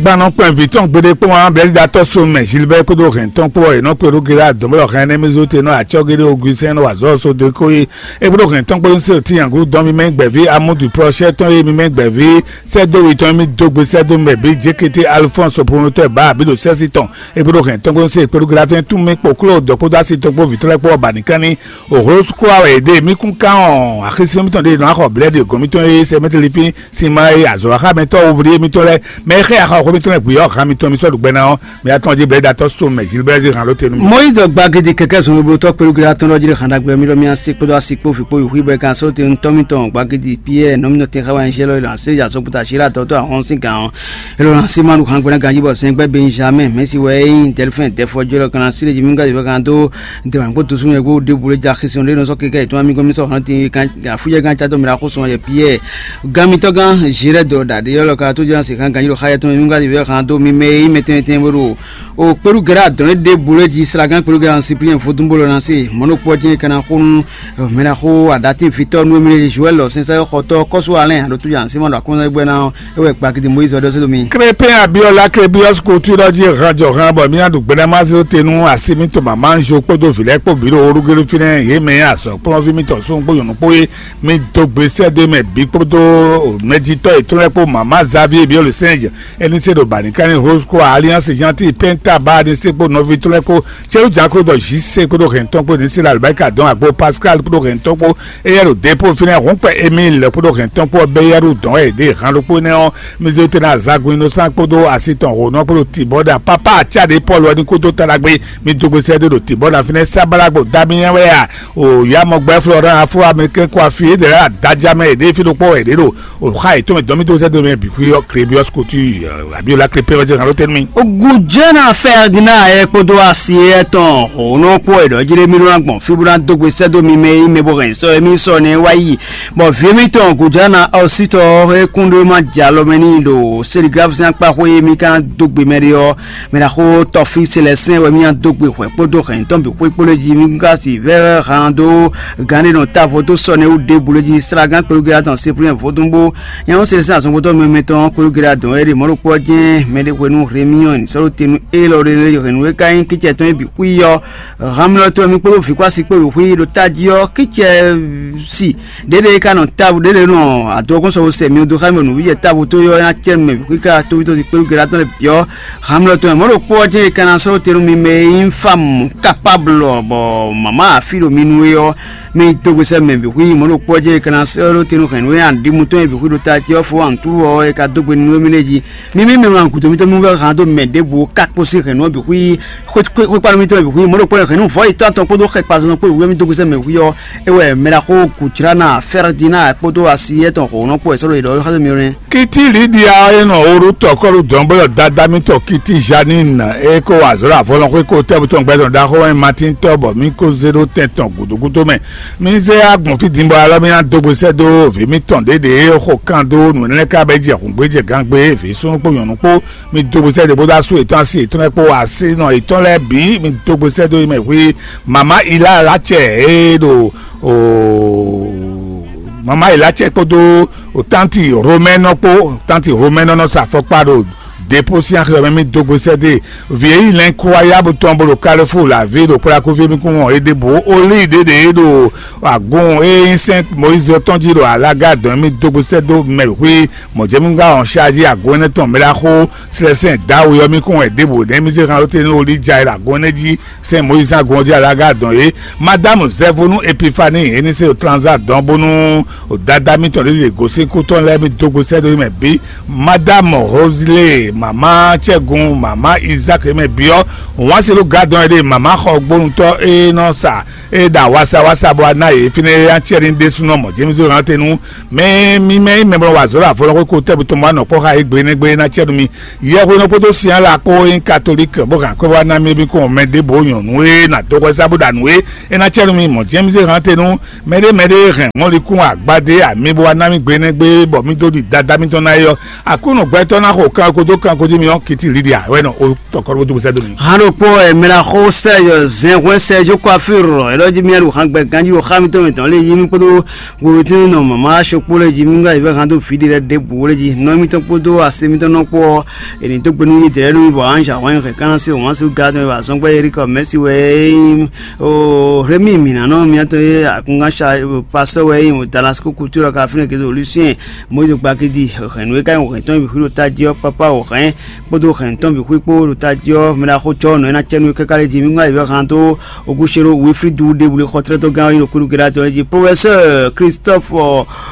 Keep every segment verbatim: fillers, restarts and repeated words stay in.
Gbanɔ kpɛn vǐ tɔn gbeɖé kpɔ́n ǎ, Bɛlidatɔ́ Somɛ Zilibɛ́ kpódó hɛn tɔn kpó ɔ́, è nɔ kpé ɖó Gilá dɔ̌nblɔ́ hɛn énɛ́ mɛ zó te nɔ acɔ́ géɖé Ogusɛ́n nɔ azɔ̌ só dó kó yi. É kpódó hɛn tɔn kpó ní se ò tíyan glú dɔn mímɛ́ gbɛ̌ví Amúdu Plɔ́shɛ́ tɔn e mímɛ́ gbɛ̌ví sɛ́dó wi tɔn e mì dó gbe sɛ́dó mɛ bǐ Jékété Alfɔ́ns Opolonotɔ́ bǎ abǐ ɖo sɛ́sí tɔn. É kpódó hɛn tɔn kpó ní se è kpé ɖó Gilá fɛ́n tún mì kpo kló dɔ̌ kpódó asi tɔn kpó vǐ tɔn lɛ́ɛ kpó ɔ́ ba nǐ kán ní. Òhló kú wɛ yě ɖe mì kún kán ɔ́, axi sín mítɔn ɖe nɔ axɔ blɛ́ɖi gɔ̌n mítɔn e sɛ mɛtɛlifín sin ma e azɔ̌ waxa mɛ tɔ́ wovlí émítɔn lɛ́ɛ, mɛ e xɛ axɔ xó mítɔn lɛ́ɛ gbe ɔ́, han mitɔn mi sɔ́ ɖu gbɛ ná ɔ́, mi atɔn jí blɛ́ɖatɔ́ so mɛ Zilbɛ́zi han ló tenu. Mɔyízi gbagidi kɛkɛ zɔn gbogbo tɔ́ kpelugila tɔn ɖɔ jí xan ɖagbe mi ɖɔ mi asi kpódó asi kpó fi kpó yi xwí bɔ kan sɔ́ te ntɔ́ mitɔn gbagidi Piyɛ́ɛ nɔmínɔ tɛn xá wa nyí lɔ lɔ asé ya sɔkputa sí la tɔtɔ ahɔn sín gǎn ɔ́. Elɔ na sí ma ɖu xan gbɛ́ná ganjí bɔ sɛn gbɛ́ Benjamin mɛsi wɛ é nyí Dɛlifɛn dɛfɔ jɔ lɔ kan na sí lé jí mi gadi fɛ kan dó dɛmɛ kpó tusu yɛ kó ɖěbǔ lé ja xisɔn ɖé nɔ sɔ́ keke ayǐtɔn mi gɔ́ mi sɔ́ hɔn tin kan afújɛ gán catɔ mi la xó sɔn yɛ Piyɛ́ɛ. Gán mitɔ́ gán Zirɛ́dɔ ɖaɖé ɔ́ lɔ ka tó jɛ́n asi xan ganjí ɖo xá yɛ tɔn mi gadi fɛ kan dó mi mɛ e nyí mɛtɛnmɛtɛn bó ɖo o kpéɖu gɛ́ɖá dɔn é ɖěbǔ lé jí slagán kpéɖu gɛ́ɖá Sipliyɛn vodún bó lɔ na se mɔ̌ ɖokpó ɔ́ jɛ́n é ka ná xó nú mɛ ná xó aɖatín fitɔ́ nú émí lé Joɛ́l lɔ sɛnsɛ́ xɔtɔ́ kɔ́sú Alɛ́n aɖótú ya Simɔ́ ɖo akɔ́nzán gbɛ́ ná ɔ́, é wɛ gbakidi Moyízi ɔ́ ɖɔ sɛ́ dó mi. Krépin Abíɔ́lá Klebíɔ́s Kutu ɖɔ jí hɛn jɔhɛn bɔ mì nyi aɖu gbɛɖɛmásé tenu asi mì to mama Anzo kpódó vǐ lɛ́ɛ kpó bǐ ɖo Olúgelu fínɛ́, yě mɛ e azɔ̌kplɔ́nví mitɔn súnnu kpó nyɔ̌nu kpó é, mi dó gbe sɛ́ dó mɛ bǐ kpódó mɛjitɔ́ yětɔn lɛ́ɛ kpó mama Xavier Biɔ́lesɛ́nj, é ní se ɖo bǎ ní ká ní Rose kpó Alliance Gentil Penta bá ní se kpó nɔví tɔn lɛ́ɛ kpó Cɛ́lú Jǎn kpódó Zisé kpódó hɛn tɔn kpó ní se ɖo alibáríkà dɔn agbo Pascal kpódó hɛn tɔn kpó éyɛ́ ɖo dépó fínɛ́ hɔn kpɛ Emile kpódó hɛn tɔn kpó bɛ́ yɛ́ ɖu dɔn wɛ yě ɖe han ɖokpó énɛ́ ɔ́, mi zé te ná Zagun Innocent kpódó asi tɔn hǒnɔ kpódó Tibɔ́da pápá acá ɖé Pɔ́lu ɔ́ ní kúdó ta ɖagbe, mi dó gbe sɛ́ dó ɖo Tibɔ́da fínɛ́ sábàlágbó Damiyɛn wɛ a? O yá mɔ gbɛ́ Florent afro américain kó afi é dɛ̌ ɖo adájá mɛ yě ɖe fí ɖokpó wɛ yě ɖe ɖo o xa yětɔn mɛ dɔn mì dó sɛ́ dó mɛ bǐ xwí ɔ́ Klebiyɔ́s Kutu Abiola Klepe wɛ jɛ hàn ló tɛ́ nú mì. Gujɛna Ferdinand ɛ kpódó asi etɔn hǒnɔ kpó ɛ ɖɔ jí ɖé mì ɖó ná gbɔn fí bó ná dó gbe sɛ́ dó mi mɛ e nyí mɛ bó hɛn sɔ e mì sɔ nɛ́ wá yi. Bɔ vǐ mitɔn Gujɛna ɔsítɔ e kún ɖó ma jɛ alɔ mɛ n'i ɖo Seliglafusɛn akpa xwé e mì ka ná dó gbe mɛ ɖé ɔ́, mɛ ná xó tɔfí Selɛsɛn wɛ mì ná dó gbe hwɛ kpódó hɛn tɔn bǐ xwé kpó lé jí mì ka si vɛ́ hán dó gǎn ɖé nɔ távo dó sɔ nɛ́ wú ɖěbǔ lé jí slágán kpéɖó gɛ́ tɔn Seplɛ́n vodún bó Nyɛ ɔ́, Selesɛ́n azɔngbɔtɔ́ mɛmɛ tɔn Klogela dɔn wɛ ɖe mɔ̌ ɖokpó ɔ́ jɛ́n mɛ ɖé hwenu Heremiyɔ́ni sɔ́ ɖó te nú élɔ́ ɖé lɛ́ɛ hwenu e ka nyí kícɛ tɔn e bǐ xwí ɔ́, Hamlɔtɔn mi kpódó vǐkwásí kpó bǐ xwí ɖo tají ɔ́, kícɛ si ɖěɖé e ka nɔ távo ɖěɖé nɔ adɔgɔ́n sɔ́ sɛ mi dó xá mi nǔví jɛ távo tó ɔ́ ná cɛ mɛ bǐ xwí ká tóví tó kpéɖó Gela tɔn lɛ́ɛ bǐ ɔ́, Hamlɔtɔn mɔ̌ ɖokpó ɔ́ jɛ́n e ka ná sɔ́ ɖó te nú mi mɛ e nyí fámu kapáblɔ bɔ mama afí ɖo mi nu é ɔ́, mi dó gbe sɛ́ mɛ bǐ xwí mɔ̌ ɖokpó ɔ́ jɛ́n e ka ná sɛ́ ɖó te nú hɛ̌nnu e aɖǐmu tɔn e bǐ xwí ɖo ta ce ɔ́ fó antúlu ɔ́ e ka dó gbe nú émí lɛ́ɛ jí. Mi mí mɛ wlan gǔdo mitɔn mi vɛ́ han dó mɛ ɖěbǔ ká kpó sín hɛ̌nnu ɔ́ bǐ xwí xwékpánu mitɔn bǐ xwí mɔ̌ ɖokpó hɛ̌nnu vɔ̌ yětɔn atɔn kpódó xɛkpazɔn kpó wú mi dó gbe sɛ́ mɛ bǐ xwí ɔ́, é wɛ mɛ ɖaxó Kuclana Fɛrdina kpódó asi etɔn hǒnɔ kpó wɛ sɔ́ ɖo yě ɖɔ xá dó mi nɛ́. Kiti Lidia e nɔ Oru tɔkɔlu dɔn bó ɖɔ dada mitɔn Kiti Janine e ko wa azɔ̌ ɖo avɔlɔn xwé ko tɛ́ butɔn gbɛtɔn ɖaxó wɛ Matin tɔ́ bɔ mí ko zé ɖó tɛn tɔn gǔdúgúdú mɛ. Mí zé agbɔn fí din bɔ alɔ mí ná dó gbe sɛ́ dó vǐ mitɔn ɖěɖě e xo kan dó nǔ énɛ́ ká bɛ jɛ hǔngbé jɛ gangbé vǐ súnnu kpó nyɔ̌nu kpó. Mí dó gbe sɛ́ dó bó dó asú yětɔn asi yětɔn lɛ́ɛ kpó asínɔ yětɔn lɛ́ɛ bǐ mí dó gbe sɛ́ dó yi mɛ hwí mama Ila Lacɛ e ɖo o mama Ila cɛ kpódó o tanti Romɛnɔ kpó tanti Romɛnɔ nɔ sa afɔkpa ɖo depo sín axi ɔ́ mɛ mì dó gbe sɛ́ dó e. Vǐ e nyí lɛ̌nkuwáyábu tɔn bó ɖo Kalefúu lě avě ɖo kplakúví mì kún wɔn é ɖěbǔ ó lí ɖěɖě ɖo agun e nyí sɛ́n Mɔyízi ɔ́ tɔn jí ɖo alaga dɔn mì dó gbe sɛ́ dó mɛ xwí mɔ̌jɛ́múgán ɔ́ ṣáájí agun énɛ́ tɔn mɛ ɖaxó Slɛsɛn Dawu ɔ́ mì kún wɛ ɖěbǔ nɛ́ mì zé han ɖó te nú Olíja e ɖo agun énɛ́ jí sɛ́n Mɔyízi agun ɔ́ jí alaga dɔn é. Madámu Zɛvunu Epifani e ní se ɖo Tranza dɔn bónú dada mitɔn ɖě ɖe gosín kú tɔn lɛ́ɛ mì dó gbe sɛ́ dó mɛ bǐ. Madámu Hozile, mama Cɛgun, mama Izak mɛ bǐ ɔ́, wǎn se ɖó gadɔn e ɖe mama xɔ gbónútɔ́ e nɔ sa e ɖo awasawasa bɔ a ná yě fínɛ́ é ná cɛ ní ɖésúnɔ mɔ̌ Jemisɔ hán te nú mɛ mímɛ́ mɛ bɔ wa zɔ̌ ɖo avɔ lɔ xwé ko tɛ́ butɔn bɔ a nɔ kpɔ́ xá égbé nɛ́ gbé é ná cɛ nú mi. Yɛhwenɔ kpódó Sinyála kpó e nyí katolík bó hɛn akwɛ́ wá ná mì é bí kún mɛ ɖěbǔ nyɔ̌nu e ná dó hwɛsá bó ɖa nǔ é, é ná cɛ nú mi mɔ̌ Jemisɔ hán te nú mɛɖé mɛɖé hɛn mɔ̌likún agbadé amǐ bó wá ná mì gbe énɛ́ gbé bɔ mì dó ɖi dada mitɔn ná é ɔ́, Aklúnɔ gbɛtɔ́ ná xo kanko dó kanko jí mi ɔ́ Kiti Lidia wɛ nɔ o tɔkɔ ɖó dó sɛ́ dó mi. Hán ɖokpó ɛ mɛ ná xó Sɛ́zɔ Zɛnhwɛ́n Sɛ́zɔ Kwafír ɛ Lɔ́ jí mía ɖo hǎngbɛ ganjí ɖo xá mitɔn mǐtɔn lé yí mì kpódó hweɖótínú nɔ mama sokpó lé jí mí wá yi vɛ́ hán dó vǐ ɖé lɛ́ɛ ɖěbǔ lé jí. Nɔ émítɔn kpódó asi émítɔn nɔ kpó ɔ́, è nǐ dó gbe nú yí dɛ̌ nú mì bɔ anzǎ hwɛ́n hɛn ká ná se wǎn sú gǎ tɔn e wa zɔ́n gbɛ́ Erika Mɛsi wɛ é nyí o Rémi mǐnánɔ miatɔn e akungánsa pasɔ wɛ é nyí o Dalasiko kutu ɔ́ ka fínɛ́ gězó Lucien Moyize Gbakidi hɛ̌nnu e ka nyí hɛ̌ntɔn e bǐ xwí ɖo tají ɔ́ pápá o hɛ̌n kpódó hɛ̌ntɔn bǐ xwí kpó ɖo tají ɔ́ mɛ ɖaxó cɔ́ nɔ é ná cɛ nú é káká lé jí mí wá yi vɛ́ hán dó Ogúṣeró Wilfridu ɖěbǔ xɔtlɛ́tɔ́gán ɔ́ nyí ɖo kúɖu Gɛ́látɔ jí Profɛsɛ́ɛ Christophe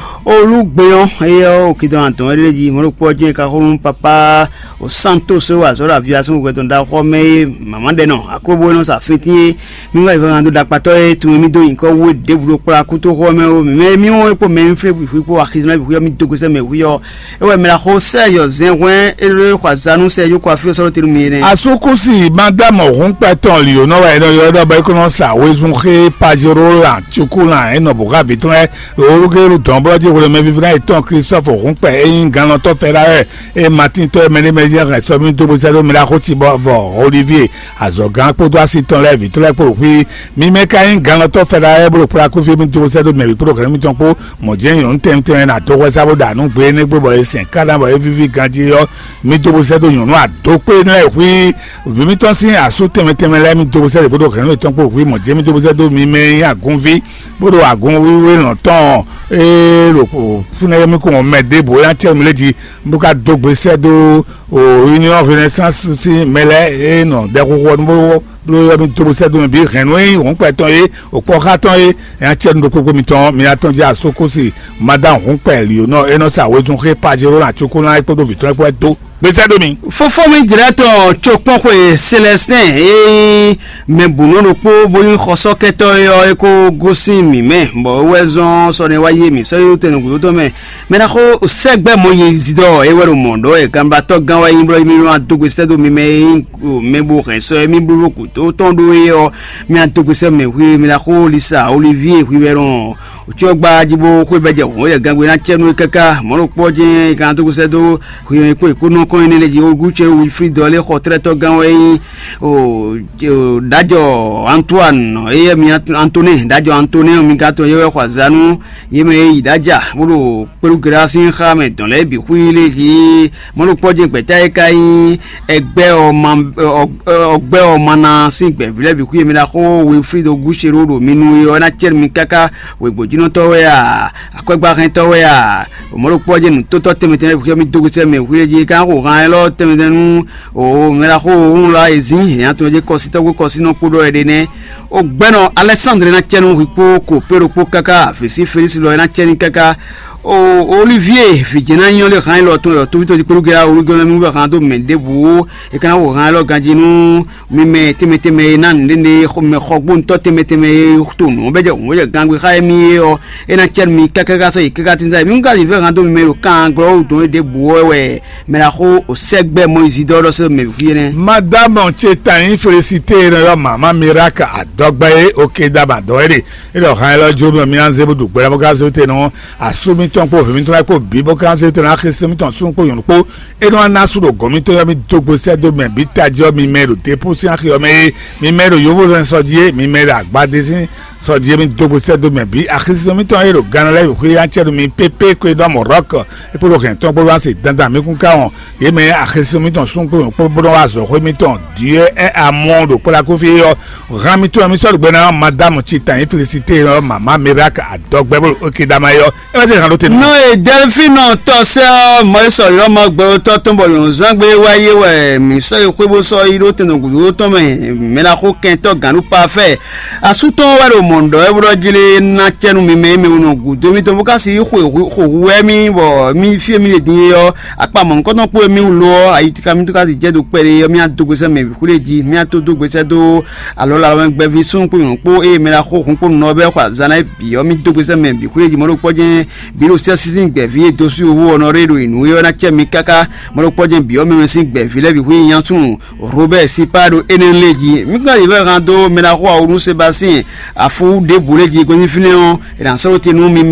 Olúgbéyɔn éyɛ́ ɔ́, òkè dɔn adɔn éɖée jí mɔ̌ ɖokpó ɔ́ jɛ́n ka xó nú papá o Santos o azɔ̌ ɖo aviasún hwɛtɔn ɖaxó ɔ́ mɛ é mǎmá ɖɛ nɔ akróbó e nɔ sa fíntín é mí wá yi vɛ́ hán dó ɖakpatɔ́ e tunwun mì dó nyǐkɔ wú é ɖěbǔ ɖo kplá kútóxó ɔ́ mɛ ó mǐ mɛ mí wɔn é kpó mɛ e mí flé bǐ xwí kpó axizán bǐ xwí ɔ́ mì dó gosɛ́ mɛ hwí ɔ́ é wɛ mɛ ɖaxó Sɛ́ɛzɔ zɛn hwɛ́n é ɖó xɔ azǎn nú Sɛ́ɛzɔ kó afí ɔ́ sɔ́ ɖó te nú mi énɛ́. Asúkúsi Madámù Húnpɛtɔn Lǐonɔ wɛ é nɔ ylɔ́ ɖɔ bɔ é kó nɔ sa wezun xé Pajero lan Cukulan é nɔ bǔ xá vǐ tɔn lɛ́ɛ ɖo Olúgélu dɔ̌nblɔ́ jí hwelomɛ vívínɔ yětɔn Klísɔ́fu Húnpɛ é nyí gannɔtɔ́ Fɛɖáwɛ é Matíntɔ́ e mɛ ɖé mɛ jɛ́n hɛn sɔ́ mì dó bó sɛ́ dó mɛ ɖaxó ci bɔ vɔ Olivie azɔ̌gán kpódó asi tɔn lɛ́ɛ vǐ tɔn lɛ́ɛ kpó ɖo xwí. Mi mɛ ka nyí gannɔtɔ́ Fɛɖáwɛ bó ɖo kplá kúfí mì dó bó sɛ́ dó mɛ bǐ kpódó hɛ̌nnu mitɔn kpó mɔ̌ jɛ́n nyɔ̌nu tɛnmɛ tɛnmɛ ná dó hwɛsá bó ɖa nǔ gbe énɛ́ gbe bɔ è sɛn káɖá bɔ é víví ganjí ɔ́, mi dó bó sɛ́ dó nyɔ̌nu adókpé lɛ́ɛ hwí. Vǐ mitɔn sín asú tɛnmɛ tɛnmɛ lɛ́ɛ mi dó bó sɛ́ dó bó ɖo hɛ̌nnu yětɔn kpó hwí mɔ̌ jɛ́n mi dó bó sɛ́ dó mi mɛ e nyí agɔnví bó ɖo agɔnwíwé lɔn tɔn ee ɖo fúnɛ́ mi kún mɛ ɖěbǔ é ná cɛ mi lé jí bó ka dó gbe sɛ́ dó o Union Renaissance sín mɛ lɛ́ɛ e nɔ ɖɛxoxo ɔ́ nú bó bló ɔ́ mi dó bó sɛ́ dó mɛ bǐ hɛ̌nnu e nyí hɔ̌nkpɛ tɔn é, òkpɔ́xá tɔn é, nya cɛ́ nú ɖokpó mì tɔn mi atɔn jí asókósi Madan hɔ̌nkpɛ Lionɔ e nɔ sa wezun xé Pajero ná cókó ná é kpódó vǐ tɔn é kpó wɛ dó. Gbèsè ɖo mi. Fofó mi jlɛ́ tɔn cokpɔ́n xwe Célestin e nyí mɛ bǔnɔ ɖokpó bó nyí xɔsɔ́kɛtɔ́ é ɔ́ é kó gosín mǐ mɛ, bɔ é wɛ zɔ́n sɔ́ nɛ́ wá yé mǐ sɔ́ yí tɛnɛgǔ tɔn mɛ. Mɛ ná xó sɛ́gbɛ́ Mɔyízi ɖɔ é wɛ ɖo mɔ̌ ɖɔ wɛ ganbatɔ́ gán wɛ nyí blɔ́ mì nɔ dó gbèsè dó mi mɛ e nyí mɛ bó hɛn sɔ e mì bló ɖo gǔdo tɔn ɖó é ɔ́, mì adó gbèsè mɛ hwi mì ná xó Lisa Olivie hwi wɛ nɔ òcyɔ́ gba jí bó xwé bɛ́ jɛ hǔn yɛ gangbe ná cɛ nú é káká mɔ̌ ɖokpó ɔ́ jɛ́n è ka ná dó gbèsè dó hwi mɛ kpó è kpó nɔ kɔn énɛ́ lɛ́ɛ jí Ogúcɛ Wilfrid ɔ́ lé xɔ tlɛ́tɔ́ gán wɛ nyí o ɖájɔ Antoine éyɛ́ mi Antonin ɖájɔ Antonin mi ka tɔn yɛ wɛ xɔ azǎn nú yě mɛ e yi ɖ'ájà bó ɖo kpéɖugěɖá sín xá mɛ dɔn lɛ́ɛ bǐ xwí lé hí mɔ̌ ɖokpɔ́ jɛ́n gbɛ̌ta e ka nyí ɛgbɛ́ ɔ́ ma ɔgbɛ́ ɔ́ ma ná sín gbɛ̌ví lɛ́ɛ bǐ xwí e mi ná xó Wilfrid Ogúṣerú ɖo mi nu é ɔ́ ná cɛ́ nú mi káká wěgbójínɔtɔ́ wɛ a, akwɛ́gbáhɛntɔ́ wɛ a, mɔ̌ ɖokpɔ́ jɛ́n nǔtótɔ́ tɛnmɛ tɛnmɛ bǐ xwí mi dó gosɛ́ mɛ hwí é jí é ka xo han élɔ́ tɛnmɛ tɛnmɛ nú o mɛ ná xó òun lá e zín hɛn atɔn jɛ kɔsítɔ́ kpó kɔsínɔ kpó ɖɔ wɛ ɖe nɛ́. O gbɛ́nɔ Alɛsándre ná cɛ nú hwi kpó Kopéro kpó káká vǐ sí Felísi lɔ é ná cɛ ní káká. O Olivie vǐ jɛ́n ná nyɔ́ lé han élɔ́ tɔn yɔ tóví tɔn jí kpéɖú gɛ́ Olivie mɛ mú wɛ han dó mɛ ɖěbǔ é ka ná xo han élɔ́ ganjí nú mi mɛ tɛnmɛ tɛnmɛ e ná nǔɖéɖé mɛ xɔgbóntɔ́ tɛnmɛ tɛnmɛ e to nǔ bɛ́ jɛ hǔn bɛ́ jɛ gangbé xá émí é ɔ́, é ná cɛ nú mi kákáká sɔ́ yi káká tínzá mi ká yi vɛ́ han dó mi mɛ ɖo kan glɔ́ wú dɔn é ɖěbǔ ɔ́ wɛ mɛ ná xó o sɛ́gbɛ́ Mɔyízi dó ɔ́ ɖɔ sɛ́ mɛ wú énɛ́. Madame Chetanyi Félicité e nɔ ylɔ́ mama Miracle adɔgbɛ́ é oke dama dɔwɛɖe é ɖɔ han élɔ́ jló mɛ mí ná zé bó ɖu gbɛɖá bó ká zé te nɔ asú mítɔn kpó hwě mítɔn lɛ́ɛ kpó bǐ bó ká zé te nɔ axésin mítɔn súnnu kpó nyɔ̌nu kpó é nɔ ná sú ɖo gɔ̌n mítɔn yɔ mí dó gbe sɛ́ dó mɛ bǐ tají ɔ́ mi mɛ ɖo dépú sín axi ɔ́ mɛ é mi mɛ ɖo yóvózɛn sɔ jí é mi mɛ ɖo agbadé sín sɔ jí é mi dó gbe sɛ́ dó mɛ bǐ axésin mítɔn é ɖo Gana lɛ́ɛ xwé ná cɛ nú mi pépé kó é ɖɔ mɔ̌ rɔ́kɔ é kpódó hɛn tɔn kpódó wá se dandan mí kún ká wɔn yě mɛ axésin mítɔn súnnu kpó nyɔ̌nu kpó bó nɔ wá azɔ̌ xwé mítɔn Dieu est amour ɖo kpó la kó fí é ɔ́ Hán mi tún wɛ mi sɔ́ ɖo gbɛ ná Madame Chetanyi Félicité ɔ́ mama Miracle adɔgbɛ́ bó ɖo Okedama é ɔ́, é wá zé hǎn ɖó te nú. Nɔ e Dɛlfínɔ tɔ́ sɛ́ ɔ́, Mɔyísɔ lɔmɔ gbɛwotɔ́ tɔn bɔ nyɔ̌nzán gbé wá yé wɛ mǐ sɔ́ yi xwé bó sɔ́ yi ɖó tɛn gǔdo tɔn mɛ mɛ ná xó kɛntɔ́ gǎn nú pafɛ́. Asú tɔn wɛ ɖo mɔ̌ ɖɔ wɛ bó ɖɔ jí lé ná cɛ nú mi mɛ e mɛ wunɔ gǔdo mitɔn bó ka si yi xwe xo hu wɛ mì bɔ mì fí e mì ɖe din é ɔ́, akpa mɔ̌hunkɔtɔn kpó e mì wú lo ɔ́, ayitíká mitɔn ka si jɛ do kpɛɖé ɔ́, mì adó gbèsè mɛ bǐ xwlé jí, mì ató dó gbèsè dó alɔ la wɛ gbɛví súnnu kpó nyɔ̌nu kpó eye mɛ ɖaxó hun kpó nunɔ bɛ xɔ azan ná bǐ ɔ́ mì dó gbèsè mɛ bǐ xwlé jí mɔɖó kpɔ́ jɛ́n bǐ ɖo sɛ́sí sín gbɛ̌ví e dó sú yovó ɔ́ nɔ ré ɖo yě nú é ɔ́ ná cɛ mi káká mɔɖó kpɔ́ jɛ́n bǐ ɔ́ mɛ mɛ sín gbɛ̌ví lɛ́ɛ bǐ xwé nyasun Robert Sipa ɖo énɛ́ lé jí mí ka yi vɛ́ han dó mɛ ɖaxó awu nú Sebastien afu ɖěbǔ lé jí gosín fínɛ́ ɔ́ è nǎ sɔ́ ɖó te nú mi mɛ